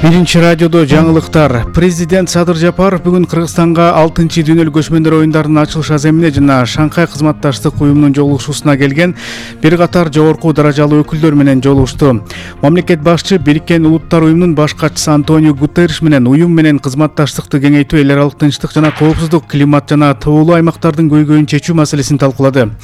Биринчи радиодо жаңылыктар. Президент Садыр Жапаров бүгүн Кыргызстанга 6-чы дүйнөлүк көчмөндөр оюндарынын ачылыш аземине жана Шанхай кызматташтык уюмунун жолугушуусуна келген бир катар жогорку даражалуу өкүлдөр менен жолугушту. Мамлекет башчы Бириккен Улуттар уюмунун баш катчысы Антонио Гутерриш менен уюм менен кызматташтыкты кеңейтүү, эл аралык тынчтык жана коопсуздук, климат жана тоолуу аймактардын көйгөйүн чечүү маселесин талкуулады.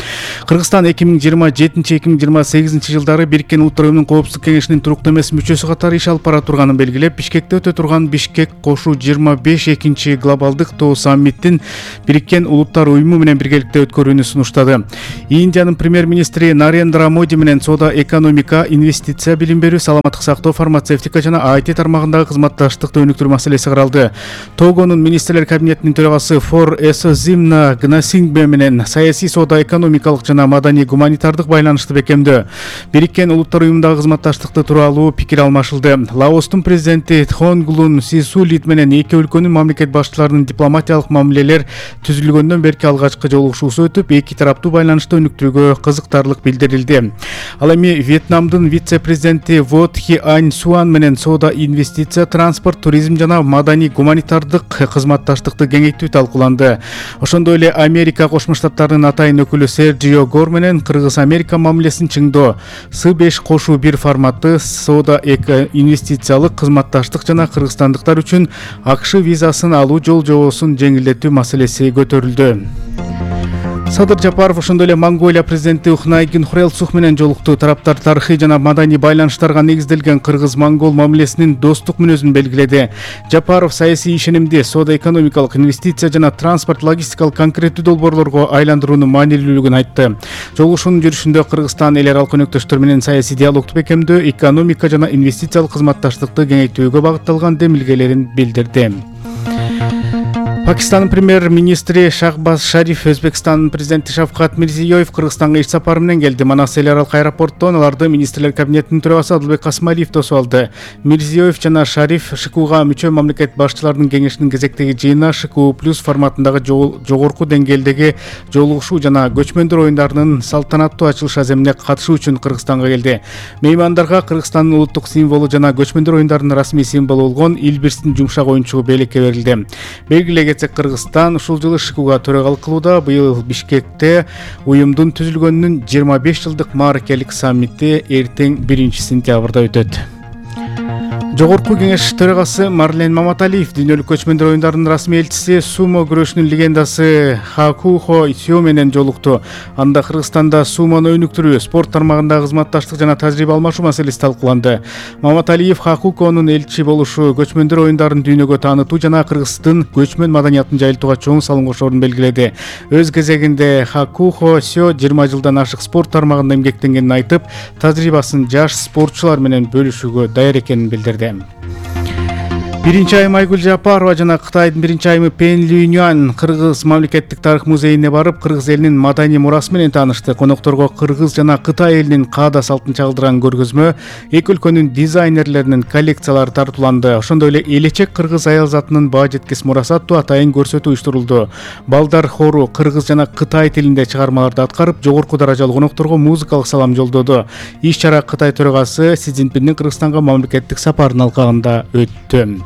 Кыргызстан 2027-2028 жылдары Бириккен Улуттар уюмунун коопсуздук кеңешинин туруктуу эмес мүчөсү катары иш алып бара турганын белгилеп, Бишкекте өтө турган Бишкек кошу 25 глобалдык тоо саммиттин Бириккен Улуттар уюму менен биргеликте өткөрүүнү сунуштады. Индиянын премьер-министри Нарендра Моди менен соода, экономика, инвестиция, билим берүү, саламаттык сактоо, фармацевтика жана IT тармагындагы кызматташтыкты өнүктүрүү маселеси каралды. Тогонун министрлер кабинетинин төрагасы Фор Эсозимна Гнасингбе менен саясий, соода, экономикалык жана маданий гуманитардык байланышты бекемдөө. Бириккен Улуттар уюмундагы кызматташтыкты тууралуу пикир алмашылды. Лаостун президенти Тхонгулун Сисулит менен эки өлкөнүн мамлекет башчыларынын дипломатиялык мамилелер түзүлгөндөн берки алгачкы жолугушуусу өтүп, эки тараптуу байланышты өнүктүрүүгө кызыктарлык билдирилди. Ал эми Вьетнамдын вице-президенти Вот Хи Ань Суан менен соода, инвестиция, транспорт, туризм жана маданий гуманитардык кызматташтыкты кеңейтүү талкууланды. Ошондой эле Америка Кошмо Штаттарынын атайын өкүлү Серджио Гор менен Кыргыз-Америка мамилесин чыңдоо, С5-1 форматы, соода, инвестициялык кызматташтык жана кыргызстандыктар үчүн АКШ визасын алуу жол жобосун жеңилдетүү маселеси көтөрүлдү. Садыр Жапаров ошондой эле Монголия президенти Ухнайгин Хурэлсух менен жолукту. Тараптар тарыхый жана маданий байланыштарга негизделген кыргыз-монгол мамилесинин достук мүнөзүн белгиледи. Жапаров саясий ишенимди, соода, экономикалык, инвестиция жана транспорт, логистикалык конкреттүү долбоорлорго айландыруунун маанилүүлүгүн айтты. Жолугушуунун жүрүшүндө Кыргызстан эл аралык өнөктөштөр менен саясий диалогду бекемдөө, экономика жана инвестициялык кызматташтыкты кеңейтүүгө багытталган демилгелерин билдирди. Пакистандын премьер-министри Шахбаз Шариф, Өзбекстандын президенти Шавкат Мирзиёев Кыргызстанга иш сапары менен келди. Манас эл аралык аэропорттон аларды министрлер кабинетинин төрагасы Адылбек Касмалиев тосуп алды. Мирзиёев жана Шариф ШКУга мүчө мамлекет башчыларынын кеңешинин кезектеги жыйынына ШКУ+ форматындагы жогорку деңгээлдеги жолугушуу жана көчмөндөр оюндарынын салтанаттуу ачылыш аземине катышуу үчүн Кыргызстанга келди. Меймандарга Кыргызстандын улуттук символу жана көчмөндөр оюндарынын расмий символу болгон Илбирстин жумшак оюнчугу белекке берилди. Кыргызстан ушул жылы ШКУга төрагалык кылууда. Быйыл Бишкекте уюмдун түзүлгөнүнүн 25 жылдык мааракелик саммити эртең 1-сентябрда өтөт. Жогорку кеңеш төрагасы Марлен Маматалиев дүйнөлүк көчмөндөр оюндарынын расмий элчиси, сумо күрөшүнүн легендасы Хакухо Сё менен жолукту. Анда Кыргызстанда сумону өнүктүрүү, спорт тармагындагы кызматташтык жана тажрыйба алмашуу маселеси талкууланды. Маматалиев Хакухонун элчи болушу көчмөндөр оюндарын дүйнөгө таанытуу жана Кыргыздын көчмөн маданиятын жайылтууга чоң салым кошорун белгиледи. Өз кезегинде Хакухо Сё 20 жылдан ашык спорт тармагында эмгектенгенин айтып, тажрыйбасын жаш спортчулар менен бөлүшүүгө даяр экенин билдирди. Биринчи айым Айгүл Жапарова жана Кытайдын биринчи айымы Пен Люньюан Кыргыз мамлекеттик тарых музейине барып, Кыргыз элинин маданий мурасы менен таанышты. Конокторго Кыргыз жана Кытай элинин каада салтын чагылдырган көргөзмө, эки өлкөнүн дизайнерлеринин коллекциялары тартууланды. Ошондой эле Элечек Кыргыз аял затынын баа жеткис мурасы аттуу атайын көрсөтүү уюштурулду. Балдар хору Кыргыз жана Кытай тилинде чыгармаларды аткарып, жогорку даражалуу конокторго музыкалык салам жолдоду. Иш-чара Кытай төрагасы Си Цзиньпиндин Кыргызстанга мамлекеттик сапарынын алкагында өттү.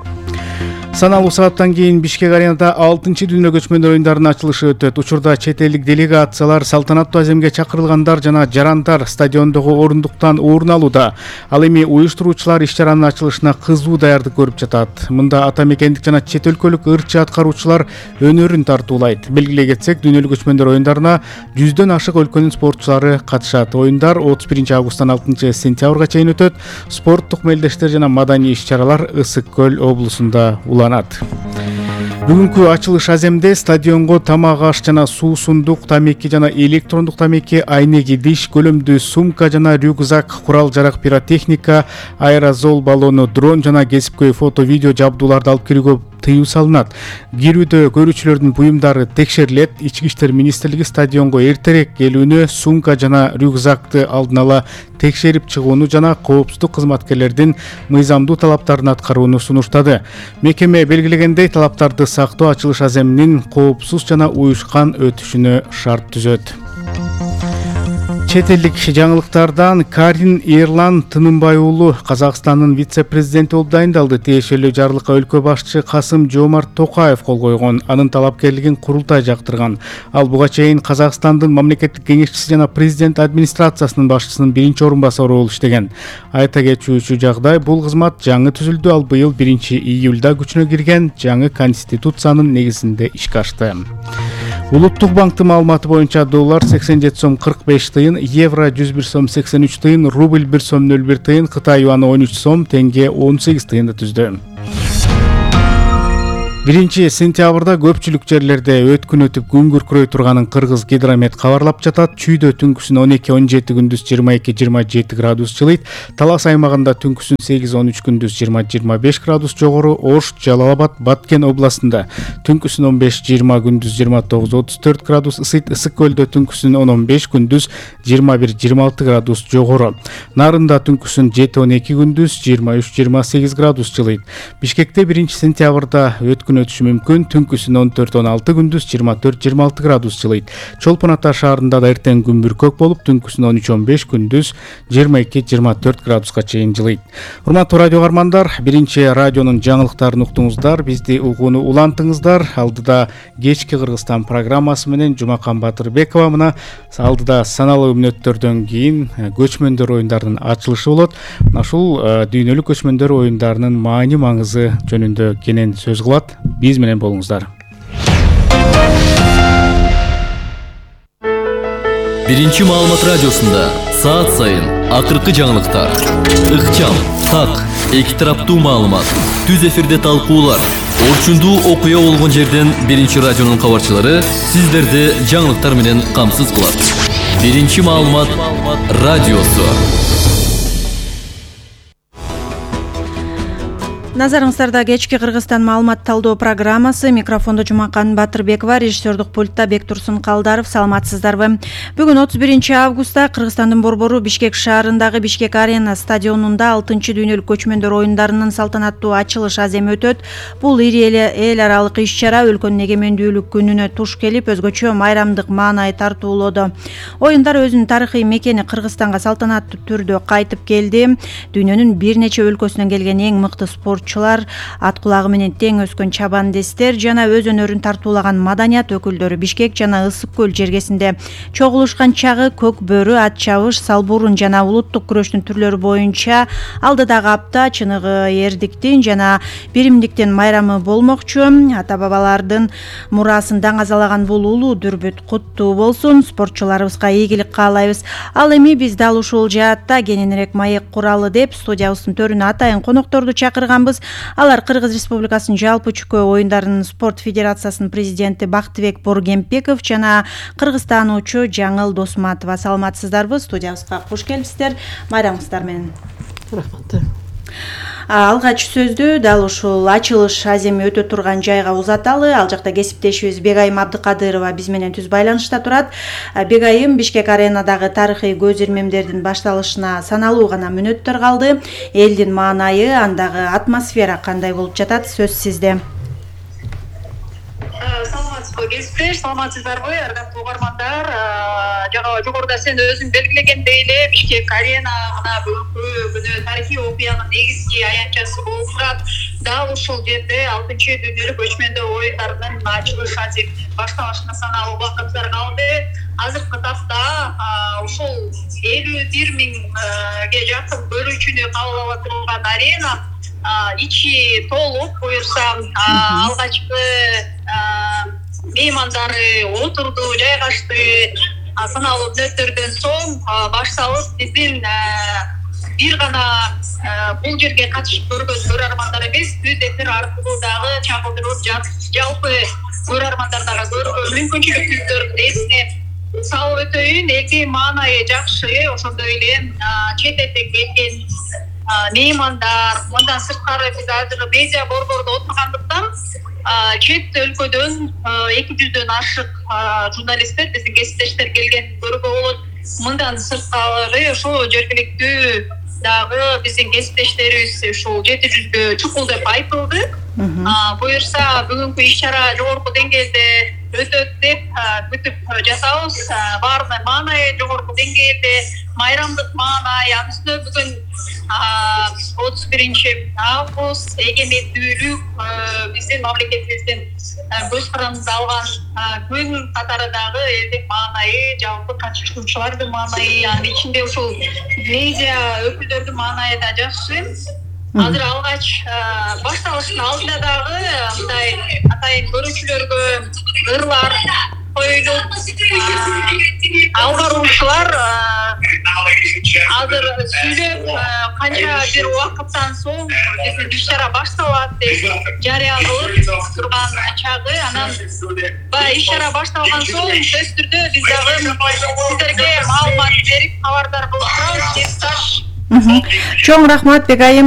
Саналуу сааттан кийин Бишкек аренада 6-чы дүйнөлүк көчмөндөр оюндарынын ачылышы өтөт. Учурда чет элдик делегациялар, салтанаттуу аземге чакырылгандар жана жарандар стадиондогу орундуктан орун алууда. Ал эми уюштуруучулар иш-чаранын ачылышына кызуу даярдык көрүп жатат. Мында ата мекендик жана чет өлкөлүк ырчы аткаруучулар өнөрүн тартуулайт. Белгилей кетсек, дүйнөлүк көчмөндөр оюндарына 100дөн ашык өлкөнүн спортчулары катышат. Оюндар 31-августтан 6-сентябрга чейин өтөт. Спорттук мелдештер жана маданий иш-чаралар Ысык көл облусунда Бүгүнкү ачылыш аземде стадионго тамак аш жана суусундук, тамеки жана электрондук тамеки, айнеги диш, көлөмдүү сумка жана рюкзак, курал-жарак, пиротехника, аэрозол баллону, дрон жана кесипкөй фото-видео жабдууларды алып кирүүгө тыюу салынат. Кирүүдө көрүүчүлөрдүн буюмдары текшерилет. Ички иштер министрлиги стадионго эртерээк келүүнү, сумка жана рюкзакты алдын ала текшерип чыгууну жана коопсуздук кызматкерлердин мыйзамдуу талаптарын аткарууну сунуштады. Мекеме белгилегендей, талаптарды сактоо ачылыш аземинин коопсуз жана уюшкан өтүшүнө шарт түзөт. Чет элдик жаңылыктардан Карин Эрлан Тынымбай уулу Казакстандын вице-президенти болуп дайындалды. Тиешелүү жарлыкка өлкө башчы Касым-Жомарт Токаев кол койгон. Анын талапкерлигин курултай жактырган. Ал буга чейин Казакстандын мамлекеттик кеңешчиси жана президент администрациясынын башчысынын биринчи орун басары болуп иштеген. Айта кетүүчү жагдай, бул кызмат жаңы түзүлдү. Ал быйыл 1-июлда күчүнө кирген жаңы конституциянын негизинде ишке ашты. Улуттук банктын маалыматы боюнча доллар 87 сом 45 тыйын, евро 101 сом 83 тыйын, рубль 1 сом 01 тыйын, Кытай юаны 13 сом, тенге 18 тыйынды түздү. 1-сентябрда көпчүлүк жерлерде өткүн өтүп күн күркүрөй турганын Кыргыз гидромет кабарлап жатат. Чүйдө түнкүсүн 12-17, күндүз 22-27 градус жылыйт. Талас аймагында түнкүсүн 8-13, күндүз 20-25 градус жогору. Ош, Жалал-Абад, Баткен областында түнкүсүн 15-20, күндүз 29-34 градус ысыйт. Ысык көлдө түнкүсүн 10-15, күндүз 21-26 градус жогору. Нарында түнкүсүн 7-12, күндүз 23-28 градус жылыйт. Бишкекте 1-сентябрда өткүн өтүшү мүмкүн. Түнкүсүн 14-16, күндүз 24-26 градус жылыйт. Чолпон Ата шаарында да эртең күн бүркөк болуп, түнкүсүн 13-15, күндүз 22-24 градуска чейин жылыйт. Урматтуу радио каармандар, 1-радионун жаңылыктарын уктуңуздар. Бизди угууну улантыңыздар. Алдыда кечки Кыргызстан программасы менен Жумакан Батырбекова, мына алдыда саналуу мүнөттөрдөн кийин көчмөндөр оюндарынын ачылышы болот. Ушул дүйнөлүк көчмөндөр оюндарынын маани маңызы жөнүндө кенен сөз кылат. Биз менен болуңуздар. 1-маалымат радиосунда саат сайын акыркы жаңылыктар, ыкчам, так, эки тараптуу маалымат, түз эфирде талкуулар, орчундуу окуя болгон жерден 1-радионун кабарчылары сиздерди жаңылыктар менен камсыз кылат. 1-маалымат радиосу. Назарыңыздарда кечки Кыргызстан маалымат талдоо программасы. Микрофондо Жумакан Батырбекова, режиссердук пультта Бектурсун Калдаров. Саламатсыздарбы? Бүгүн 31-августта Кыргызстандын борбору Бишкек шаарындагы Бишкек Арена стадионунда 6-дүйнөлүк көчмөндөр оюндарынын салтанаттуу ачылыш аземи өтөт. Бул ири эл аралык иш-чара өлкөнүн эгемендүүлүк күнүнө туш келип, өзгөчө майрамдык маанай тартуулоду. Оюндар өзүнүн тарыхый мекени Кыргызстанга салтанаттуу түрдө кайтып келди. Дүйнөнүн бир нече өлкөсүнөн келген эң мыкты спорт ат кулагы менен тең өскөн чабандестер жана өз өнөрүн тартуулаган маданият өкүлдөрү Бишкек жана Ысык көл жергесинде чогулушкан чагы көк бөрү, ат чабыш, салбурун жана улуттук күрөштүн түрлөрү боюнча алдыдагы апта чыныгы эрдиктин жана биримдиктин майрамы болмокчу. Ата бабалардын мурасын даңазалаган бул улуу дүрбүт куттуу болсун. Спортчуларыбызга ийгилик каалайбыз. Ал эми биз дал ушул жаатта кененирээк маек куралы деп студиябыздын төрүнө атайын конокторду чакырганбыз. Алар Кыргыз Республикасынын жалпы чүкө оюндарынын спорт федерациясынын президенти Бактыбек Боргемпеков жана кыргызтануучу Жаңыл Досматова. Саламатсыздарбы? Студиябызга куш келипсиздер. Майрамыңыздар менен. Рахмат. Алгач сөздү дал ушул ачылыш аземи өтө турган жайга узаталы. Ал жакта кесиптешибиз Бегайым Абдыкадырова биз менен түз байланышта турат. Бегайым, Бишкек Аренадагы тарыхый көз ирмемдердин башталышына саналуу гана мүнөттөр калды. Элдин маанайы, андагы атмосфера кандай болуп жатат? Сөз сизде. Саламатсызбы кесиптеш, саламатсыздарбы ардактуу угармандар? Жогоруда сен өзүң белгилегендей эле Бишкек Арена мына бүгүнкү күнү тарыхый окуянын негизги аянтчасы болуп турат. Дал ушул жерде 6-дүйнөлүк көчмөндөр оюндарынын ачылыш аземинин башталышына саналуу убакыттар калды. Азыркы тапта ушул 51 миңге жакын көрүүчүнү кабыл ала турган арена ичи толуп, буюрса алгачкы меймандары отурду, жайгашты. Саналуу мүнөттөрдөн соң башталып биздин бир гана бул жерге катышып көргөн көрөрмандар эмес, түз эфир аркылуу дагы чагылдырылып жалпы көрөрмандардагы көрүүгө мүмкүнчүлүк түздөрүн эсине салып өтөйүн. Элдин маанайы жакшы, ошондой эле чет элден келген меймандар, мындан сырткары биз азыр медиа борбордо отургандыктан чет өлкөдөн 200дөн ашык журналисттер, биздин кесиптештер келген көрүүгө болот. Мындан сырткары ошо жергиликтүү дагы биздин кесиптештерибиз ушул 700гө чукул деп айтылды. Буюрса бүгүнкү иш-чара жогорку деңгээлде өтөт деп күтүп жатабыз. Баарына маанайы жогорку деңгээлде, майрамдык маанай, анын үстүнө бүгүн 31 август эгемендүүлүк биздин мамлекетибиздин көз карандыгы алган күн катары дагы элдик маанайы, жалпы катышуучулардын маанайы, анын ичинде ушул медиа өкүлдөрдүн маанайы да жакшы. Азыр алгач башталыштын алдында дагы мындай атайын көрүүчүлөргө ырлар коюлуп, алып баруучулар азыр сүйлөп канча бир убакыттан соң биздин иш-чара башталат деп жарыя кылып турган чагы. Анан баягы иш-чара башталган соң сөзсүз түрдө биз дагы сиздерге маалымат берип кабардар кылып турабыз. Чоң рахмат Бекайым.